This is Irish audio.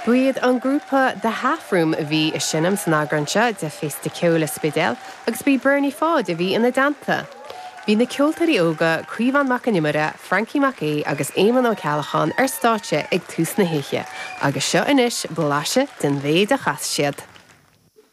Ba iad an grúpa The Half Room a bhí ag seinm san eagrán seo de Féasta Ceoil an Spidéil agus b'í Bernie Pháid a bhí ina dteannta. Bhí na ceoltóirí óga Caomhán Mac an Iomaire, Frankie Mac Aoidh agus Éamonn Ó Ceallacháin ar stáitse ag tús na hoíche agus seo anois blaiseadh den mhéid a chas siad.